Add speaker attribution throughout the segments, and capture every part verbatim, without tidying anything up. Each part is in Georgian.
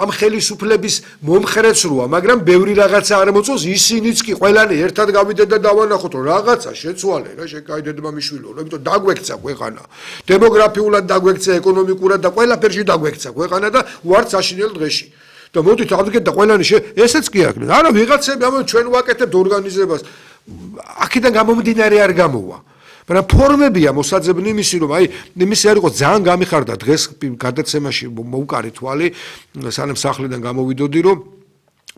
Speaker 1: ამ ხელისუფლების მომხრეც როა, მაგრამ ბევრი რაღაცა არ მოწონს, ისინიც კი ყველანი ერთად გავიდეთ და დავანახოთ, რომ რაღაცა შეცვალე რა, შეკაიდეთმა მიშვილო, იმიტომ დაგვექცა ქვეყანა. დემოგრაფიულად დაგვექცა, ეკონომიკურად და ყველაფერში დაგვექცა ქვეყანა და ვართ საშინელ დღეში. და მოდით ავდგეთ და ყველანი ესეც კი აქ. არა, ვიღაცები ამ ჩვენ ვაკეთებთ ორგანიზებას. აქედან გამომდინარე არ გამოვა. მაგრამ ფორმებია მოსაძებნი იმისი, რომ აი იმისი არ იყო ძალიან გამიხარდა დღეს გადაცემაში მოუკარი თვალი, სანამ სახლიდან გამოვიდოდი, რომ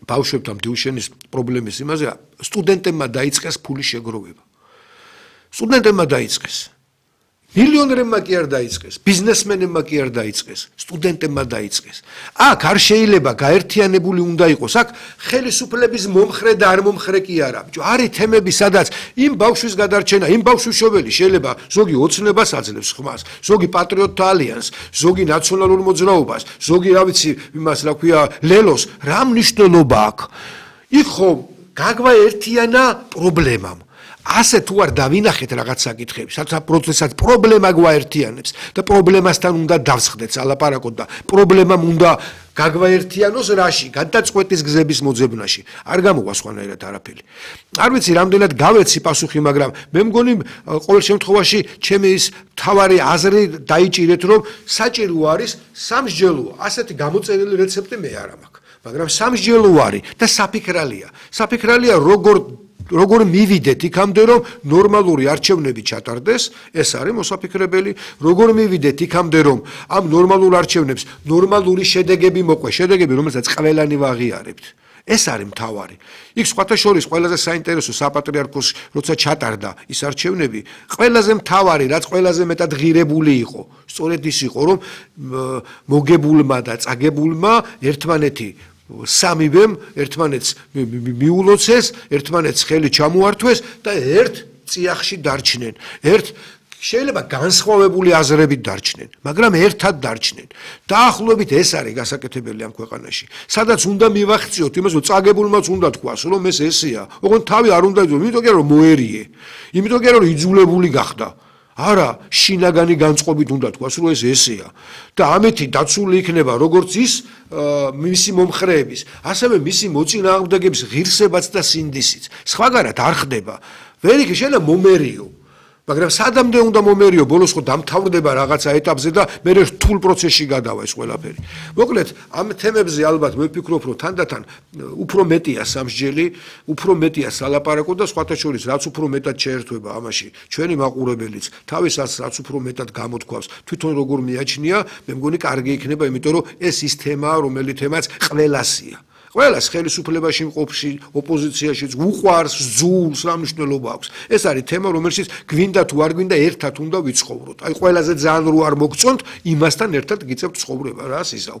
Speaker 1: ბავშვებთან დიუშენის პრობლემის იმაზე სტუდენტებმა დაიწყეს ფულის შეგროვება. სტუდენტებმა დაიწყეს. მილიონერებმა კი არ დაიწყეს, ბიზნესმენებმა კი არ დაიწყეს, სტუდენტებმა დაიწყეს. აქ არ შეიძლება გაერთიანებული უნდა იყოს, აქ ხელისუფლების მომხრე და არ მომხრე კი არა. არის თემები, სადაც იმ ბავშვის გადარჩენა, იმ ბავშვის შობელი შეიძლება ზოგი ოცნებას აძლევს ხმას, ზოგი პატრიოტთა ალიანსს, ზოგი ნაციონალურ მოძრაობას, ზოგი რა ვიცი, იმას რა ქვია, ლელოს, რა მნიშვნელობა აქვს? იქ ხო გაგვაერთიანა პრობლემამ. ასე თუ არ დავინახეთ რაღაც საკითხები, სადაც პროცესად პრობლემა გვაერთიანებს და პრობლემასთან უნდა დავსხდეთ ალაპარაკოთ და პრობლემამ უნდა გაგვაერთიანოს რაში, გადაწყვეტის გზების მოძებნაში. არ გამოვა სხვანაირად არაფერი. არ ვიცი, რამდენად გავეცი პასუხი, მაგრამ მე მგონი ყოველ შემთხვევაში ჩემი ის მთავარი აზრი დაიჭირეთ, რომ საჭირო არის სამსჯელო. ასეთი გამოწერილი რეცეპტი მე არ მაქვს, მაგრამ სამსჯელო არის და საფიქრალია. საფიქრალია როგორ როგორ მივიდეთ იქამდე, რომ ნორმალური არჩევნები ჩატარდეს, ეს არის მოსაფიქრებელი, როგორ მივიდეთ იქამდე, რომ ამ ნორმალურ არჩევნებს ნორმალური შედეგები მოყვეს, შედეგები, რომელსაც ყველანი ვაღიარებთ. ეს არის მთავარი. იქ სხვათა შორის ყველაზე საინტერესო საპატრიარქოს როცა ჩატარდა ის არჩევნები, ყველაზე მთავარი, რაც ყველაზე მეტად ღირებული იყო, სწორედ ის იყო, რომ მოგებულმა და წაგებულმა ერთმანეთი სამივემ ერთმანეთს მიულოცეს, ერთმანეთს ხელი ჩამოართვეს და ერთ წიაღში დარჩნენ. ერთ შეიძლება განსხვავებული აზრებით დარჩნენ, მაგრამ ერთად დარჩნენ. დაახლოებით ეს არის გასაკეთებელი ამ ქვეყანაში. სადაც უნდა მივახციოთ იმას, რომ წაგებულმაც უნდა თქვას, რომ ეს ესეა. ოღონდ თავი არ უნდა იწვევ, იმიტომ კი რომ მოერიე. იმიტომ კი რომ იძულებული გახდა. არა, შინაგანი განწყობით უნდა თქვას, რომ ეს ესეა. და ამეთი დაცული იქნება როგორც ის მისი მომხრეების, ასევე მისი მოწინააღმდეგების ღირსებაც და სინდისიც. სხვაგანად არ ხდება. ვერ იქ შეიძლება მომერიო. მაგრამ სადამდე უნდა მომერიო, ბოლოს ხო დამთავრდება რაღაცა ეტაპზე და მე რთულ პროცესში გადავა ეს ყველაფერი. მოკლედ, ამ თემებზე ალბათ მე ვფიქრობ, რომ თანდათან უფრო მეტია სამსჯელი, უფრო მეტია სალაპარაკო და სხვათა შორის რაც უფრო მეტად შეერთვება ამაში ჩვენი მაყურებელიც, თავისაც რაც უფრო მეტად გამოთქვავს, თვითონ როგორ მიაჩნია, მე მგონი კარგი იქნება, იმიტომ რომ ეს ის თემაა, რომელი თემაც ყველასია. ყველას ხელისუფლებაში მყოფში, ოპოზიციაშიც უყვარს, ზულს, რა მნიშვნელობა აქვს. ეს არის თემა, რომელშიც გვინდა თუ არ გვინდა ერთად უნდა ვიცხოვროთ. აი ყველაზე ძალიან რო არ მოგწონთ, იმასთან ერთად გიწევთ ცხოვრება, რა სიზავ.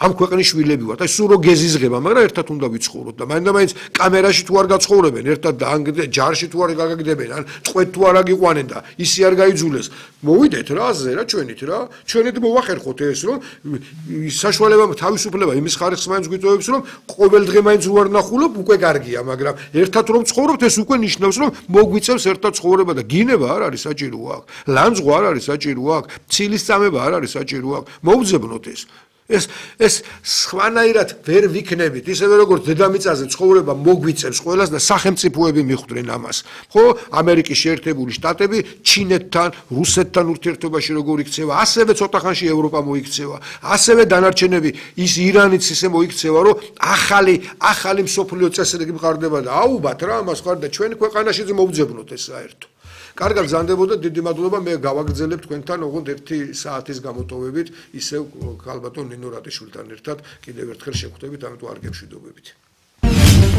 Speaker 1: ამ ქვეყნის შვილები ვართ. აი სულ რო გეზიზღება, მაგრამ ერთად უნდა ვიცხოვროთ და მაინდა-მაინც კამერაში თუ არ გაცხოვრებენ, ერთად და ან ჯარში თუ არ გაგაგდებენ, ან წყვეთ თუ არ აგიყვანენ და ისი არ გაიძულეს. მოვიდეთ რა აზე რა ჩვენით რა. ჩვენით მოვახერხოთ ეს, რომ საშუალება თავისუფლება იმის ხარისხს მაინც გვიწევებს, რომ ყოველ დღე მაინც უარ ნახულობ, უკვე კარგია, მაგრამ ერთად რომ ცხოვრობთ, ეს უკვე ნიშნავს, რომ მოგვიწევს ერთად ცხოვრება და გინება არ არის საჭირო აქ. ლანძღვა არ არის საჭირო აქ. ცილის წამება არ არის საჭირო აქ. მოვძებნოთ ეს. ეს ეს სხვანაირად ვერ ვიქნებით, ისევე როგორც დედამიწაზე ცხოვრება მოგვიწევს ყველას და სახელმწიფოები მიხვდნენ ამას. ხო, ამერიკის შეერთებული შტატები ჩინეთთან, რუსეთთან ურთიერთობაში როგორ იქცევა, ასევე ცოტა ხანში ევროპა მოიქცევა, ასევე დანარჩენები ის ირანიც ისე მოიქცევა, რომ ახალი ახალი მსოფლიო წესრიგი მყარდება და აუბათ რა ამას ხარ და ჩვენ ქვეყანაშიც მოვძებნოთ ეს საერთო. კარგად გზანდებოდა, დიდი მადლობა, მე გავაგრძელებ თქვენთან ოღონდ ერთი საათის გამოტოვებით, ისევ ქალბატონ ნინო რატიშვილთან ერთად კიდევ ერთხელ შევხვდებით, ამიტომ არ გემშვიდობებით.